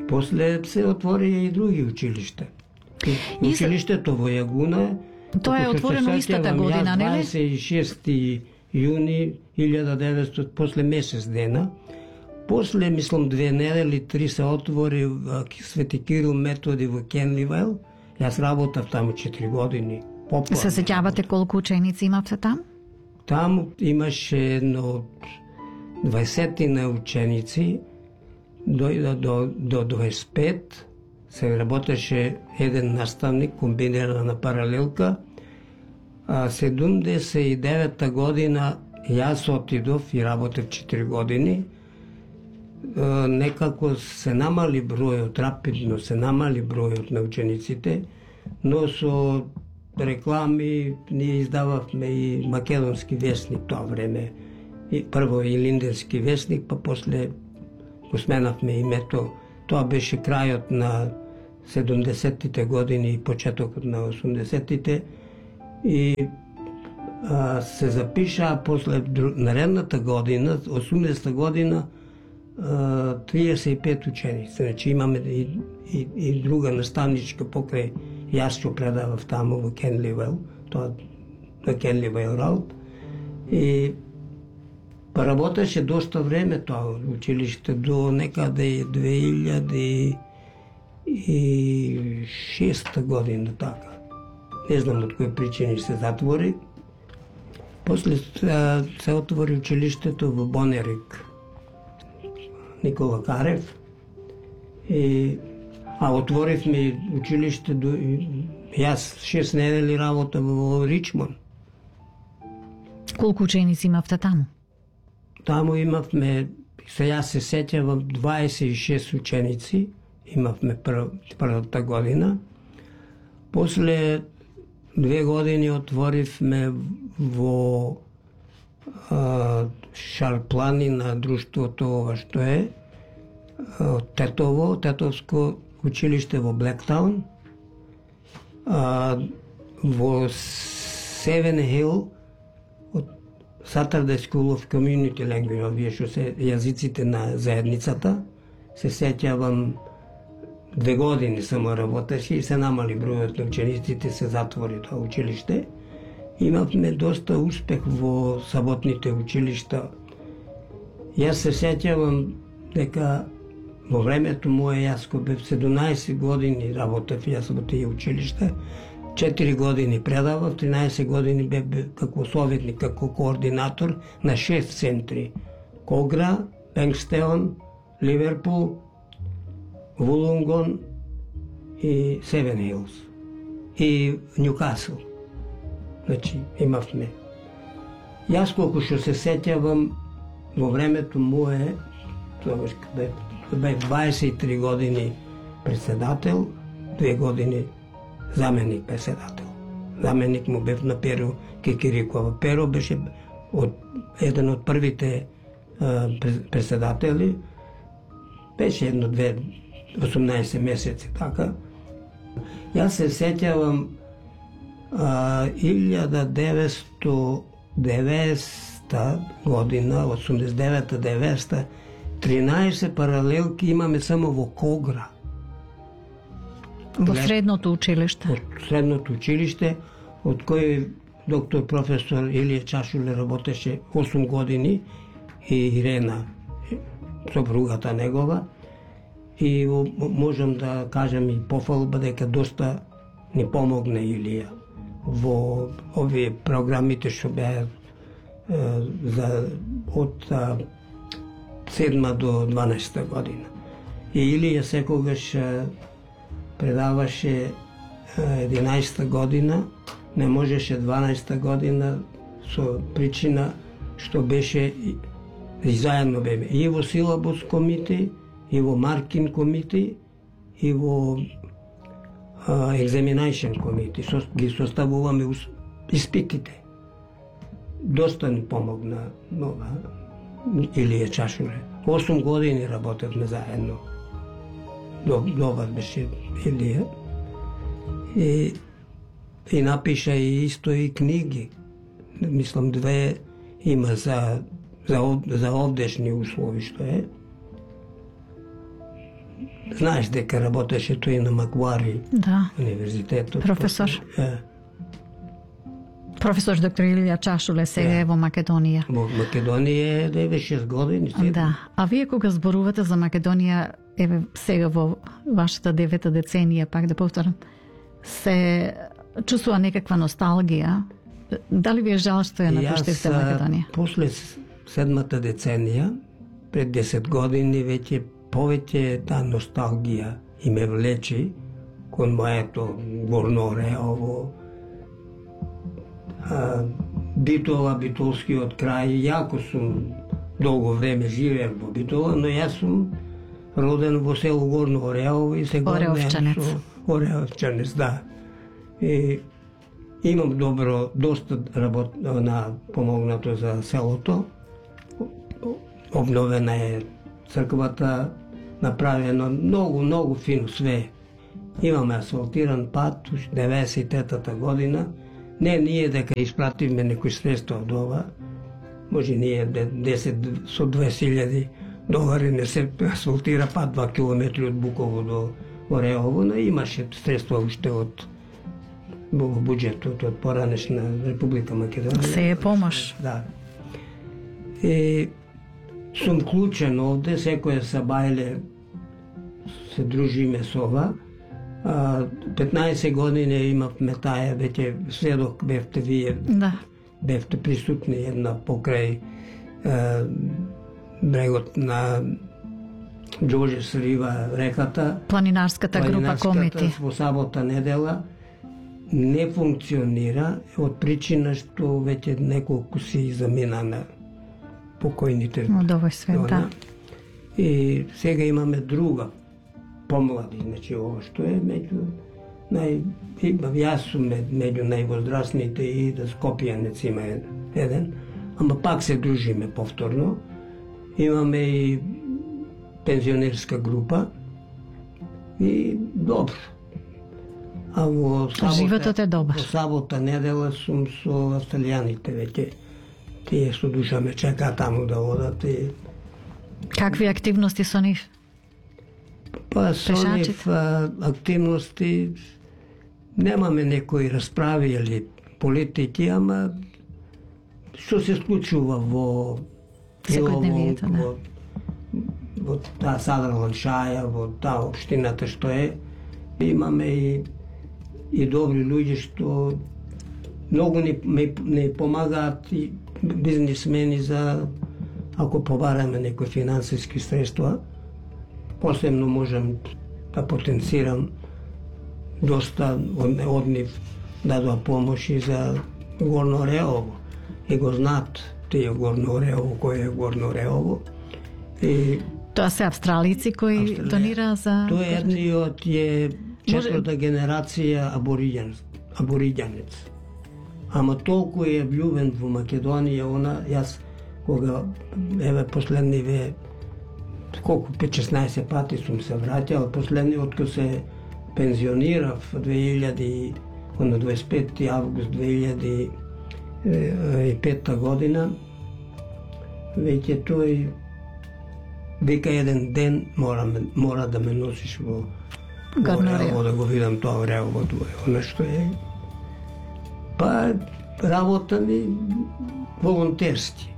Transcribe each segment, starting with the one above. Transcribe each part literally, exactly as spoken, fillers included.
После се отвори и други училишта. Училиштето во Јагуна, тоа е отворено истата година, нели? дваесет и шести јуни илјада и деветстотини, после месец дена. После, мислам, две недели, три се отвори Свети Кирил Методи во Кенливайл. Јас работав таму четири години. Попла. Се сеќавате колку ученици имавте таму? Таму имаше едно дваесетина ученици, дојда до, до дваесет и пет, се работеше еден наставник, комбинирана паралелка, а седумдесет и девета година јас отидов и работев четири години. Некако се намали бројот, рапидно се намали бројот на учениците, но со реклами ние издававме и македонски весник тоа време. И прво и линденски весник, па после го сменавме името. Тоа беше крајот на седумдесеттите години и почетокот на осумдесеттите. И а, се запиша после наредната година, осумдесета година, триесет и пет ученици. Значи имаме и, и, и друга наставничка покрај јас што предавав таму во Кенливайл, тоа на Кенливайл Роуд. И па работеше доста време тоа училиште до некаде две илјади и шеста година, така. Не знам од кои причини се затвори. После се отвори училиштето во Бонерик, Никола Карев. И, а отворивме училиште до... Јас шест недели работа во Ричмон. Колку ученици имавте таму? Таму имавме, се јас се сеќавам, дваесет и шест ученици имавме прв, првата година. После две години отворивме во а, Шарплани на друштвото ова што е Тетово, Тетовско училиште во Блектаун. А, во Севен Хил од Saturday School of Community Language, овие што се јазиците на заедницата. Се сеќавам, две години само работеше и се намали бројот на учениците, се затвори тоа училиште. Имавме доста успех во саботните училишта. Јас се сеќавам дека во времето мое, јас кога бев седумнаесет години работев јас во тие училишта, четири години предавав, тринаесет години бев како советник, како координатор на шест центри. Когра, Бенкстеон, Ливерпул, Вулонгон и Севен Хилс и Нјукасл. Значи, имавме. Јас колку што се сеќавам, во времето мое, тоа бев дваесет и три години председател, две години заменик председател. Заменик му бев на Перо Кикирикова. Перо беше од, еден од првите а, председатели. Беше едно-две, осумнаесет месеци, така. Јас се сеќавам илјада деветстотини и деветдесета година, осумдесет и девета деветдесета, тринаесет паралелки имаме само во Когра. Во средното училиште? Од средното училиште, од кој доктор професор Илија Чашуле работеше осум години и Ирена, сопругата негова. И можам да кажам и пофалба дека доста ни помогне Илија во овие програмите што беа за од седма до дванаесета година. И Илија секогаш предаваше единаесета година, не можеше дванаесета година со причина што беше и заедно беме и во силабус комити, и во Маркин комити, и во екзаминашн комити. Со, ги составуваме испитите. Доста ни помогна нова Илија Чашуле. осум години работевме заедно. Добар беше Илија. И, и напиша и исто и книги. Мислам две има за, за, за овдешни услови што е. знаеш дека работеше тој на Маквари Да. универзитетот. Професор. Е, Професор доктор Илија Чашуле сега е во Македонија. во Македонија е деветдесет и шест години. седум. Да. А вие кога зборувате за Македонија, еве сега во вашата девета деценија, пак да повторам, се чувствува некаква носталгија. Дали ви е жал што ја напуштивте Јас, Македонија? после с- седмата деценија, пред десет години, веќе повеќе таа носталгија и ме влечи кон моето Горно Ореово, а, Битола, Битолскиот крај. Јако сум долго време живеев во Битола, но јас сум роден во село Горно Ореово и се гордеам Ореовчанец. со Ореовчанец, да. И имам добро, доста работ на помогнато за селото. Обновена е црквата, направено многу, многу фино све. Имаме асфалтиран пат, уш деветдесет и третата година. Не ние дека испративме некои средства од ова. Може ние де- десет со дваесет илјади долари не се асфалтира пат два километри од Буково до Ореово, но имаше средства уште од во буџетот од поранешна Република Македонија. Се е помош. Да. И сум клучен овде, секоја сабајле се дружиме со ова. А, петнаесет години имавме таа, веќе сведок бевте вие, Да. бевте присутни една покрај е, брегот на Џорџес Рива, реката. Планинарската група Планинарската Комети. Во сабота недела не функционира од причина што веќе неколку си замина на покојните. Од овој свет, да. И сега имаме друга, помлади, значи ова што е меѓу нај и- јас сум ме- меѓу највозрастните и да Скопјанец има еден, ама пак се дружиме повторно. Имаме и пензионерска група и добро. А во Животот е добар. Во сабота недела сум со австралијаните веќе. Тие со душа ме чекаат таму да одат и Какви активности со нив? па со Пешачите? нив а, активности немаме некои расправи или политики, ама што се случува во Секојдневието, да. во, во таа Садраланд Шаја, во таа општината што е, имаме и и добри луѓе што многу ни, ни, ни помагаат и бизнисмени за ако побараме некои финансиски средства, посебно можам да потенцирам доста од, од нив дадоа помоши за Горно Ореово. И го знаат тие Горно Ореово, кој е Горно Ореово. И Тоа се австралици кои Австралија. донира за... тој е едниот е четврта генерација абориѓан, абориѓанец. Ама толку е влюбен во Македонија, она, јас кога, еве, последниве, колку, пет-шеснаесет пати сум се враќал, последниот кога се пензионирав две илјади, на дваесет и пети август две илјади и пета година, веќе тој вика еден ден мора, ме- мора да ме носиш во Горно Ореово, Ореово. да го видам тоа Ореово, она што е. Па работа ми волонтерски,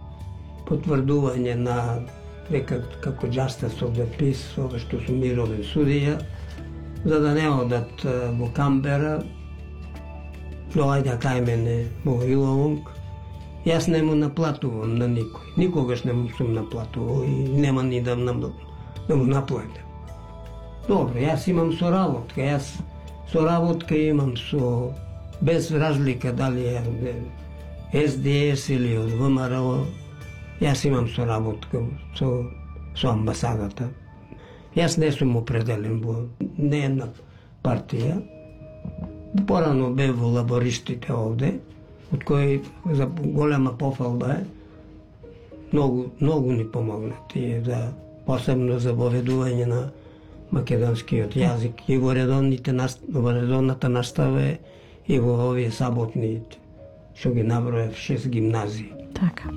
потврдување на дека како justice of the peace, ова што сум мировен судија, за да не одат а, во Камбера, доаѓа кај мене во Илонг. Јас не му наплатувам на никој. Никогаш не му сум наплатувал и нема ни да, нам, да му наплатам. Добро, јас имам соработка, јас соработка имам со, без разлика дали е Ес Ди Ес или од Вэ Ем Ар О, јас имам соработка со, со амбасадата. Јас не сум определен во не една партија. Порано бев во лабористите овде, од кои за голема пофалба е, многу, многу ни помогна тие за, посебно за воведување на македонскиот јазик и во редовните наст- во редовната настава е, и во овие саботни што ги наброев шест гимназии. Така.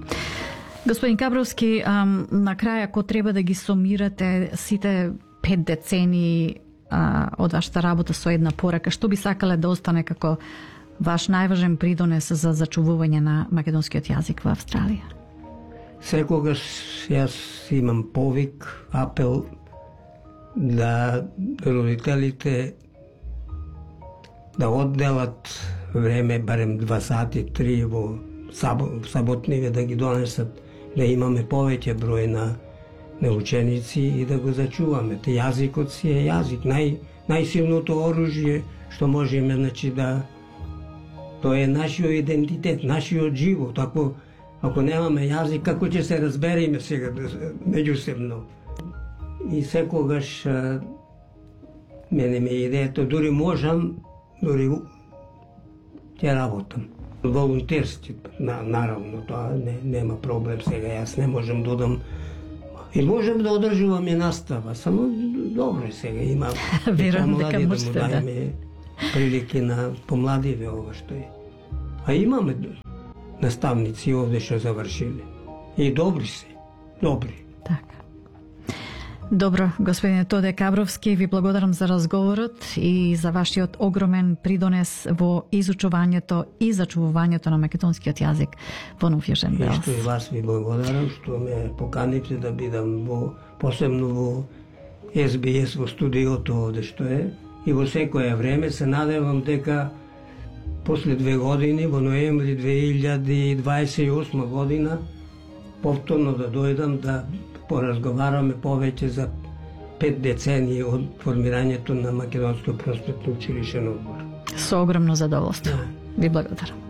Господин Кабровски, ам, на крај, ако треба да ги сумирате сите пет децении а, од вашата работа со една порака, што би сакале да остане како ваш најважен придонес за зачувување на македонскиот јазик во Австралија? Секогаш јас имам повик, апел да родителите да одделат време, барем два сати, три во саботниве да ги донесат, да имаме повеќе број на, на ученици и да го зачуваме. Те јазикот си е јазик, нај, најсилното оружје што можеме, значи да тоа е нашиот идентитет, нашиот живот. Ако ако немаме јазик, како ќе се разбереме сега меѓусебно? И секогаш а, мене ме идејата, дури можам, дури ќе работам. Волонтерски, на, наравно, тоа не, нема проблем сега, јас не можам да одам и можам да одржувам и настава, само добро сега има верувам дека да можете да дајме прилики на помладиве ова што е. А имаме наставници овде што завршиле. И добри се, добри. Така. Добро, господине Тоде Кабровски, ви благодарам за разговорот и за вашиот огромен придонес во изучувањето и зачувувањето на македонскиот јазик во Нов Јужен И Велс. што и вас ви благодарам што ме поканивте да бидам во, посебно во Ес Би Ес во студиото овде што е. И во секое време се надевам дека после две години, во ноември две илјади дваесет и осма година, повторно да дојдам да поразговараме повеќе за пет децении од формирањето на Македонско просветно училишен одбор. Со огромно задоволство. Ви благодарам.